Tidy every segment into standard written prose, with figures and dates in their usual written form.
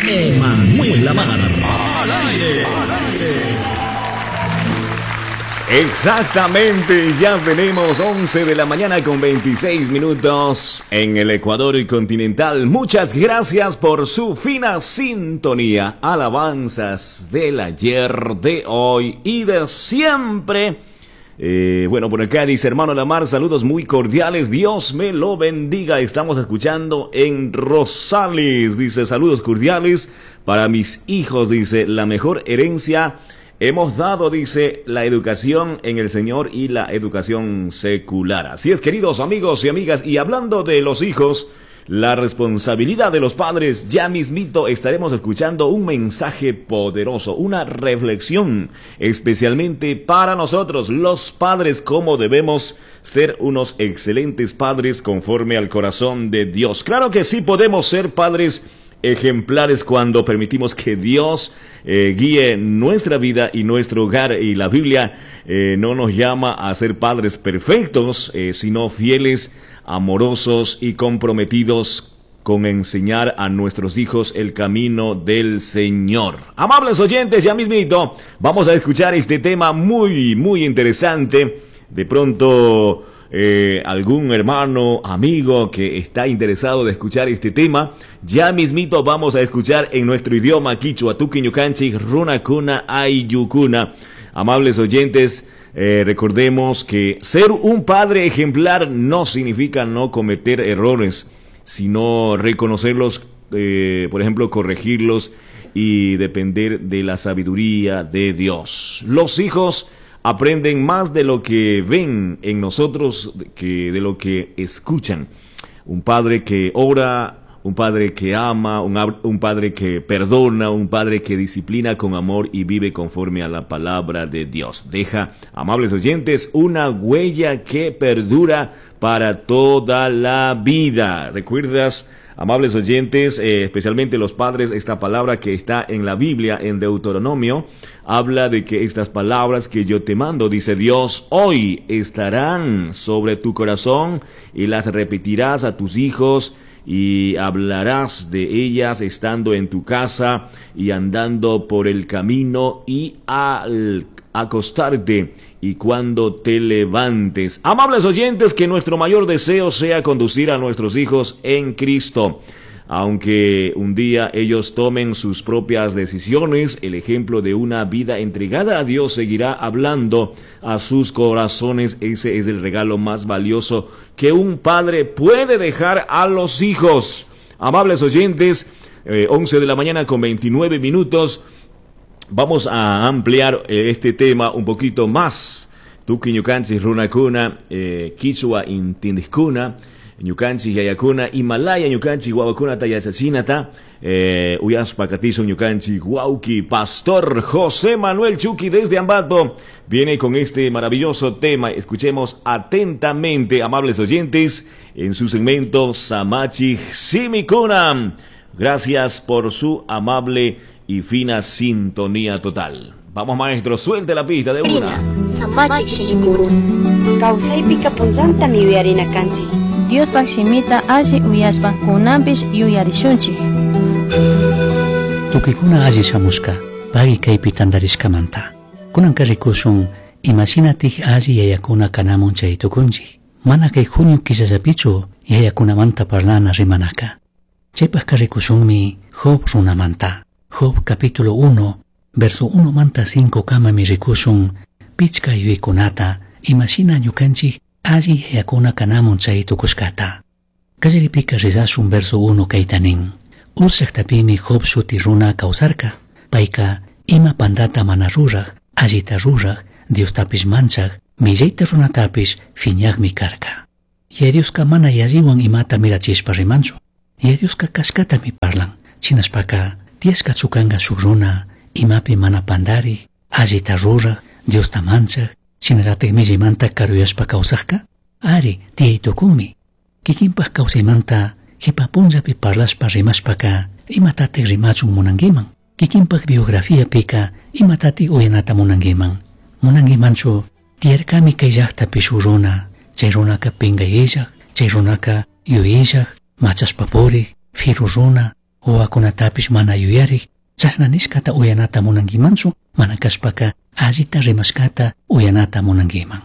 Emanuel Lamar. Al aire. Exactamente, ya tenemos 11 de la mañana con 26 minutos en el Ecuador y continental. Muchas gracias por su fina sintonía. Alabanzas del ayer, de hoy y de siempre. Bueno, por acá dice hermano Lamar, saludos muy cordiales, Dios me lo bendiga. Estamos escuchando en Rosales, dice, saludos cordiales para mis hijos, dice, la mejor herencia hemos dado, dice, la educación en el Señor y la educación secular. Así es, queridos amigos y amigas, y hablando de los hijos, la responsabilidad de los padres, ya mismito estaremos escuchando un mensaje poderoso, una reflexión especialmente para nosotros, los padres, cómo debemos ser unos excelentes padres conforme al corazón de Dios. Claro que sí podemos ser padres ejemplares cuando permitimos que Dios guíe nuestra vida y nuestro hogar. Y la Biblia no nos llama a ser padres perfectos, sino fieles, amorosos y comprometidos con enseñar a nuestros hijos el camino del Señor. Amables oyentes, ya mismito vamos a escuchar este tema muy, muy interesante. De pronto algún hermano, amigo que está interesado de escuchar este tema, ya mismito vamos a escuchar en nuestro idioma quichua, tuki ñukanchik, runakuna, ayllukuna. Amables oyentes, recordemos que ser un padre ejemplar no significa no cometer errores, sino reconocerlos, por ejemplo, corregirlos y depender de la sabiduría de Dios. Los hijos aprenden más de lo que ven en nosotros que de lo que escuchan. Un padre que ora, un padre que ama, un padre que perdona, un padre que disciplina con amor y vive conforme a la palabra de Dios. Deja, amables oyentes, una huella que perdura para toda la vida. ¿Recuerdas, amables oyentes, especialmente los padres, esta palabra que está en la Biblia, en Deuteronomio, habla de que estas palabras que yo te mando, dice Dios, hoy estarán sobre tu corazón y las repetirás a tus hijos y hablarás de ellas estando en tu casa y andando por el camino y al acostarte y cuando te levantes? Amables oyentes, que nuestro mayor deseo sea conducir a nuestros hijos en Cristo. Aunque un día ellos tomen sus propias decisiones, el ejemplo de una vida entregada a Dios seguirá hablando a sus corazones. Ese es el regalo más valioso que un padre puede dejar a los hijos. Amables oyentes, 11 de la mañana con 29 minutos. Vamos a ampliar este tema un poquito más. Tuki ñukanchik runakuna, kichwa intindiskuna, ñukanchik yayakuna, Himalaya ñukanchik wawakunata yachachinata, uyashpa katishun ñukanchik wawki, Pastor José Manuel Chuqui desde Ambato, viene con este maravilloso tema. Escuchemos atentamente, amables oyentes, en su segmento Samachi Simikuna. Gracias por su amable y fina sintonía total. Vamos, maestro, suelte la pista de una. Samachi Shimikuna. Kawsaypika punllantami yuyarina kanchik. Diospaj shimita alli uyashpa kunanpish yuyarishunchik. Tukuykuna alli shamushka, pagui kaypi tantarishkamanta. Kunanka rikushun imashinatik alli yayakuna kanamun chay tukunchik. Mana kay junio killallapichu yayakunamanta parlana rimanaka. Chaypajka rikushunmi Job runamanta. Job capítulo 1, verso 1 manta 5 kamami rikushun pichka yuyaykunata imashina ñukanchik alli yayakuna kanamun chay tukushkata. Kallaripika rizashun verso 1 kayta nin. Uz llaqtapimi Job shuti runa kawsarka. Payka ima pandata mana ruraj, allita ruraj, Diostapish manchaj, millayta runatapish fiñajmi karka. Yaya Dioska mana yalliwan imata mirachishpa rimanchu. Yaya Dioska kashkatami parlan. Shinashpaka tiyashka chukanga shuk runa, imapi mana pandari, allita ruraj, Diosta manchaj, shinallatik millaymanta karuyashpa kawsajka? Ari, tiyay tukunmi. Kikinpaj kawsaymanta jipa punllapi parlashpa rimashpaka, imatatik rimachun munankiman? Kikinpaj biografiapika, imatatik uyanata munankiman? Munankimanchu, tiyarkami kay llaqtapi shuk runa, chay runaka pinkayillaj, chay runaka yuyillaj, machashpa purik, firu runa, Wawakunatapish mana yuyarik, chashna nishkata uyanata munankimanchu, mana kashpaka allita rimashkata uyanata munankiman.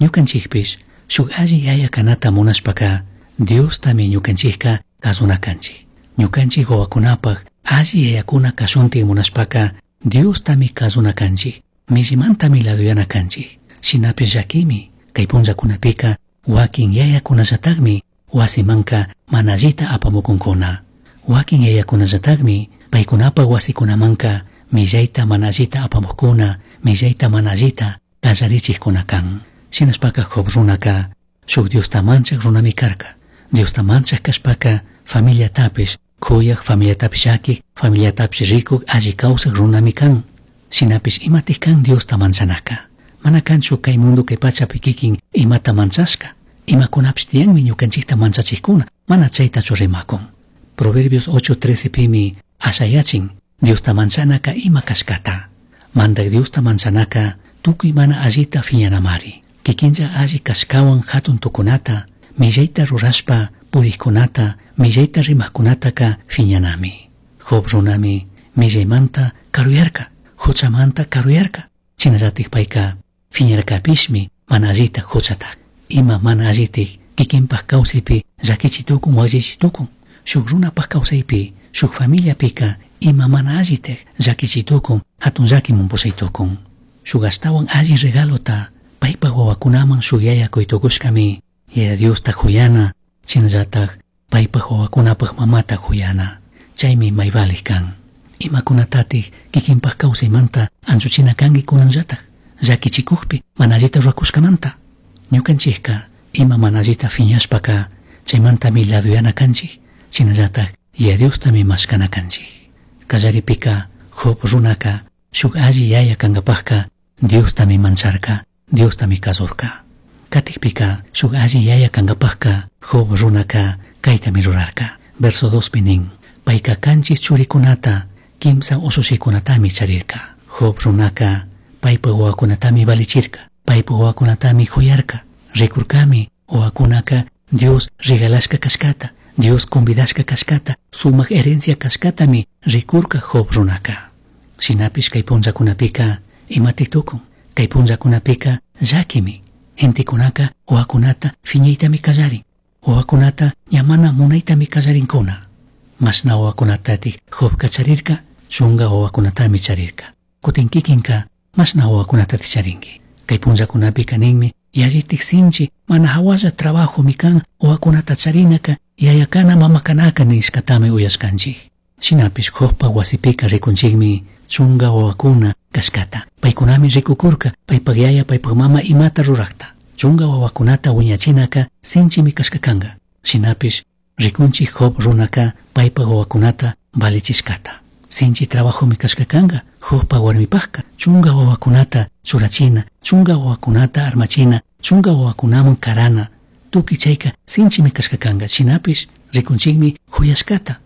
Ñukanchikpish shuk alli yaya kanata munashpaka Diostami ñukanchikka kazuna kanchik. Ñukanchik wawakunapaj alli yayakuna kashuntin munashpaka Diostami kazuna kanchik, millimantami laduyana kanchik. Shinapish llakimi kay punllakunapika wakin yayakunallatakmi wasimanka mana allita apamukunkuna. Wakin yayakunallatakmi paykunapaj wasikunamanka millayta mana allita apamukkuna, millayta mana allita kallarichikkuna kan. Shinashpaka Job runaka shuk Diosta manchak runami karka. Diosta manchak kashpaka familiatapish kuyaj, familiatapish llakik, familiatapish rikuk, alli kawsak runami kan. Shinapish imatik kan Diosta manchanaka. Mana kanchu kay mundo kay pachapi kikin imata manchashka. Imakunapish tiyanmi ñukanchikta manchachikkuna, mana chaytachu rimakun. Proverbios 8:13 pimi ashayachin Diosta manchanaka ima kashkata. Mandak Diosta manchanaka tukuy mana allita fiñanamari. Kikinlla alli kashkawan hatun tukunata, millayta rurashpa purikkunata, millayta rimajkunataka fiñanami. Job runami millaymanta karuyarka, huchamanta karuyarka. Shinallatik payka fiñarkapishmi mana allita huchata. Ima mana allitik kikinpaj kawsaypi llakichi tukun, wakllichi tukun. Shuk runapaj kawsaypi, shuk familiapika ima mana allitik llakichi tukun, hatun llakiman pushay tukun. Shuk ashtawan alli regalota paypaj wawakunaman shuk yaya kuytukushkami Yaya Diosta kuyana, shinallatak paypaj wawakunapaj mamata kuyana. Chaymi may valik kan. Imakunatatik kikinpaj kawsaymanta anchuchina kanki kunanllatak, llakichikukpi mana allita rurakushkamanta. Ñukanchikka ima mana allita fiñashpaka chaymantami laduyana kanchik, shinallatak Yaya Diostami mashkana kanchik. Kallaripika Job runaka shuk alli yaya kankapajka Diostami mancharka, Diostami kasurka. Katikpika shuk alli yaya kankapajka Job runaka kaytami rurarka. Verso 2 pi nin, payka kanchis churikunata, kimsa usushikunatami charirka. Job runaka paypa wawakunatami valichirka, paypa wawakunatami kuyarka. Rikurkami wawakunaka Dios regalashka kashkata, Dios convidashka kashkata, sumak herencia kashkatami rikurka Job runaka. Shinapish kay punllakunapika imatik tukun, kay punllakunapika llakimi. Gentekunaka wawakunata fiñaytami kallarin, wawakunata ña mana munaytami kallarinkuna. Mashna wawakunatatik Jobka charirka, chunga wawakunatami charirka. Kutin kikinka mashna wawakunatatik charinki. Kay punllakunapika ninmi, yallitik sinchi mana hawalla trabajomi kan wawakunata charinaka, yayakana mamakanaka nishkatami uyashkanchik. Shinapish Jobpa wasipika rikunchikmi chunga wawakuna kashkata. Paykunami rikukurka, paypak yaya, paypak mama imata rurakta. Chunga wawakunata wiñachinaka sinchimi kashka kanka. Shinapish rikunchik Job runaka paypak wawakunata valichishkata. Sinchi trabajomi kashka kanka Jobpa warmipajka. Chunga wawakunata churachina, chunga wawakunata armachina, chunga wawakunaman karana. Tukuy chayka sinchimi kashka kanka. Shinapish rikunchikmi huyashkata.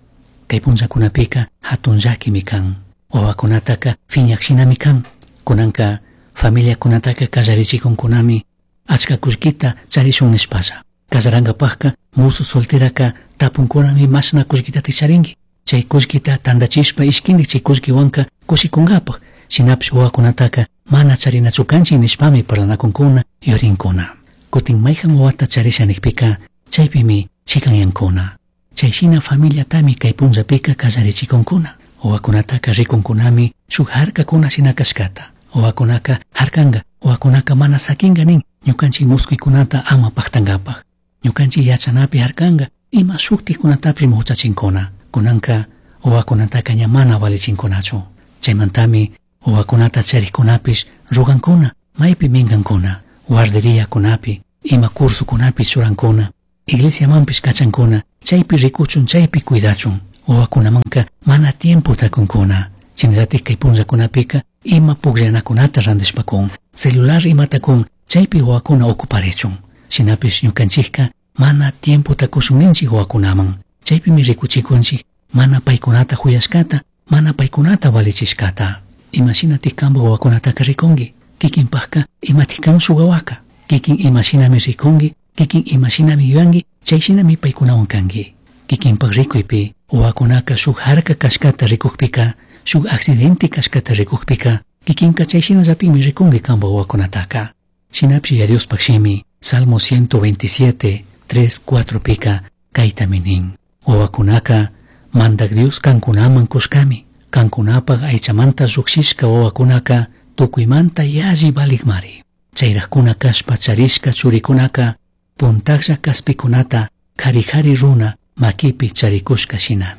Kay punllakunapika hatun llakimi kan. Wawakunataka fiñakshinami kan. Kunanka familiakunataka kallarichikunkunami achka kullkita charishun nishpalla. Kasarankapajka musu solteraka tapunkunami mashna kullkitata charinki. Chay kullkita tandachishpa ishkindik chay kullkiwanka kushikunkapaj. Shinapish wawakunataka mana charinachu kanchik nishpami parlanakunkuna yurinkuna. Kutin mayjan wawata charisha nikpika chaypimi chikanyankuna. Chay shina familiatami kay punllapika kallarichikunkuna. Wawakunataka rikunkunami shuk harkakuna shina kashkata. Wawakunaka harkanka, wawakunaka mana sakinka nin ñukanchik muskuykunata ama paktankapaj. Ñukanchik yachanapi harkanka ima shuktikunatapish muchachinkuna. Kunanka wawakunataka ña mana valichinkunachu. Chaymantami wawakunata charikkunapish rugankuna, maypi minkankuna, guarderiakunapi, ima cursokunapi churankuna, iglesiamanpish kachankuna, chaypi rikuchun, chaypi cuidachun. Wawakunamanka mana tiempo takunkuna. Shinallatik kay punllakunapika ima pukllanakunata randishpakun, celular imata kun, chaypi wawakuna ocuparichun. Shinapish ñukanchikka mana tiempo takushun ninchik wawakunaman. Chaypimi rikuchikunchik mana paykunata huyashkata, mana paykunata valichishkata. Imashinatik kanpak wawakunataka rikunki, kikinpajka imatik kan shuk wawaka. Kikin imashinami rikunki, kikin imashinami yuyanki, chayshinami paykunawan kanki. Kikinpak rikuypi wawakunaka shuk harka kashkata rikukpika, shuk accidente kashkata rikukpika, kikinka chay shinallatikmi rikunki kanpak wawakunataka. Shinapish Yaya Diospak shimi Salmo 127, 3, 4 pika kaytami nin. Wawakunaka Mandak Dios kankunaman kushkami. Kankunapak aychamanta llukshishka wawakunaka tukuymanta yalli valikmari. Chayrajkuna kashpa charishka churikunaka puntaklla kaspikunata kari kari runa makipi charikushka shina.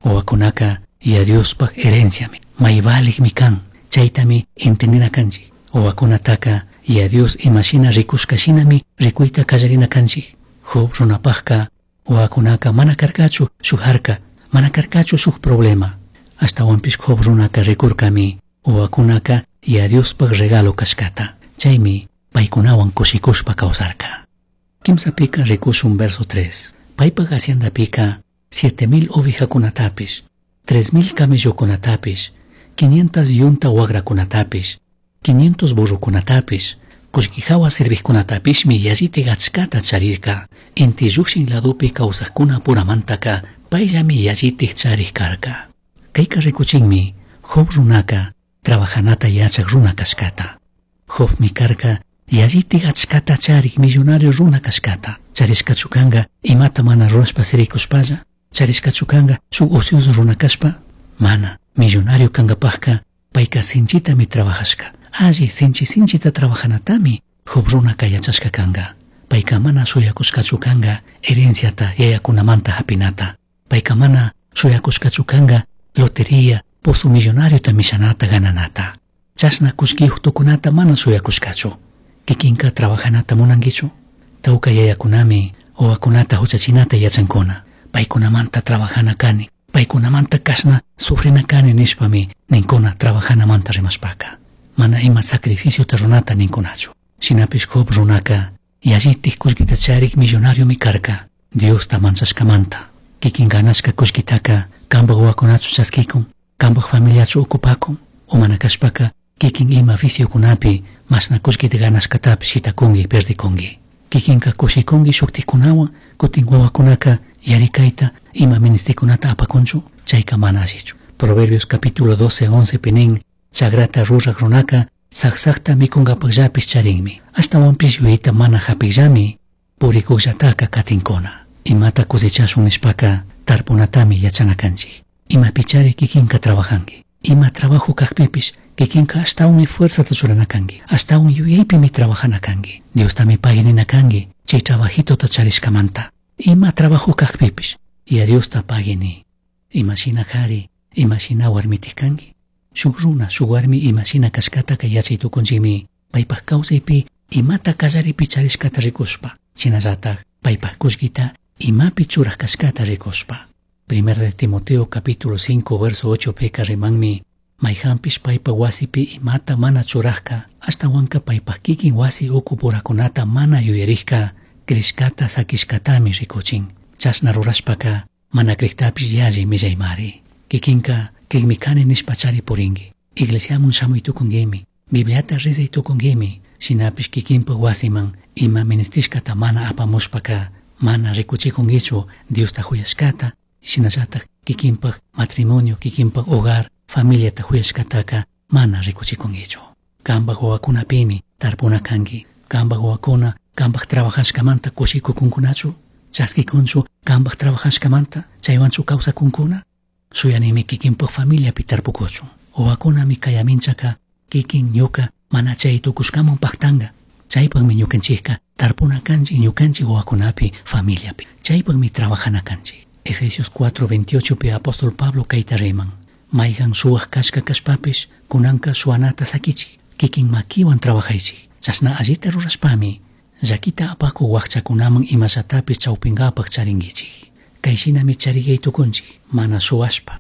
Wawakunaka Yaya Diospak herenciami, may valikmi kan, chaytami entendina kanchik. Wawakunataka Yaya Dios imashina rikushka shinami rikuyta kallarina kanchik. Job runapajka wawakunaka mana karkachu shuk harka, mana karkachu shuk problema. Ashtawanpish Job runaka rikurkami wawakunaka Yaya Diospak regalo kashkata. Chaymi paykunawan kushikushpa kawsarka. Kimsapika rikushun verso 3. Paypak haciendapika 7000 ovejakunatapish, 3000 camellokunatapish, 500 yunta wagrakunatapish, 500 burrokunatapish, kullkihawa servijkunatapishmi yallitik achkata charirka. Inti llukshin ladopi kawsajkuna puramantaka payllami yallitik charik karka. Kayka rikuchinmi Job runaka trabajanata yachak runa kashkata. Jobmi karka yallitik achkata charik millonario runa kashkata. Charishkachu kanka imata mana rurashpa sirikushpalla? Charishkachu kanka shuk ocioso runa kashpa? Mana, millonario kankapajka payka sinchitami trabajashka. Alli sinchi sinchita trabajanatami Job runaka yachashka kanka. Payka mana shuyakushkachu kanka herenciata yayakunamanta hapinata. Payka mana shuyakushkachu kanka lotería, pozo millonariota mishanata gananata. Chashna kullkiyuq tukunata mana shuyakushkachu. Kikinka trabajanata munankichu? Tawka yayakunami wawakunata huchachinata yachankuna. Paykunamanta trabajana kani, paykunamanta kashna sufrina kani nishpami ninkuna trabajanamanta rimashpaka. Mana ima sacrificiota runata ninkunachu. Shinapish Job runaka yallitik kullkita charik millonariomi karka. Diosta manchashkamanta. Kikin ganashka kullkitaka kanpak wawakunachu chaskikun, kanpak familiachu ocupakun, o mana kashpaka kikin ima viciokunapi mashna kullkita ganashkatapish shitakunki perdikunki. Kikinka kushikunki shuktikunawan, kutin wawakunaka yarikayta ima ministikunata apakunchu, chayka mana allichu. Proverbios capítulo 12, 11 pi nin, chagrata rurak runaka saksakta mikunkapakllapish charinmi. Ashtawanpish yuyayta mana hapikllami purikukllataka katinkuna. Imata cosechashun nishpaka tarpunatami yachana kanchik. Imapichari kikinka trabajanki. Ima trabajo kakpipish kikinka ashtawanmi fuerzata churana kanki. Ashtawan yuyaypimi trabajana kanki. Diostami paginina kanki chay trabajitota charishkamanta. Ima trabajo kakpipish Yaya Diosta pagini. Imashina kari, imashina warmitik kanki. Shuk runa, shuk warmi imashina kashkataka yachay tukunchikmi. Paypak kawsaypi imata kallaripi charishkata rikushpa. Shinallatak paypak kullkita imapi churak kashkata rikushpa. Primer de Timoteo capítulo 5 verso 8 peka rimanmi mayhanpish paypa wasipi imata mana churajka ashtawanka paypak kikin wasi uku purakunata mana yuyarikka krishkata sakishkatami rikuchin. Chashna rurashpaka mana kriktapish yalli millaymari. Kikinka kikmi kani nishpa chari purinki. Iglesiamun shamuy tukunkimi, Bibliata rezay tukunkimi, shinapish kikinpa wasiman ima ministishkata mana apamushpaka mana rikuchikunkichu Diosta huyashkata, shinallatak kikinpak matrimonio, kikinpak hogar, familiata huyashkataka mana rikuchikunkichu. Kanpak wawakunapimi tarpuna kanki. Kanpak wawakuna kanpak trabajashkamanta kushikukunkunachu, chaskikunchu kanpak trabajashkamanta, chaywanchu kawsakunkuna. Shuyanimi kikinpak familiapi tarpukuchun. Wawakunami kayaminchaka kikin ñuka mana chay tukushkaman paktanga. Chaypakmi ñukanchikka tarpuna kanchik ñukanchik wawakunapi familiapi. Chaypakmi trabajana kanchik. Efesios 4:28 pi apóstol Pablo kayta riman. Mayhan suwak kashka kashpapish kunanka suwanata sakichik. Kikin makiwan trabajaychik. Chashna allita rurashpami llakita apaku wakchakunaman imallatapish chawpinkapak charinkichik. Kayshinami charigay tukunchik mana suwashpa.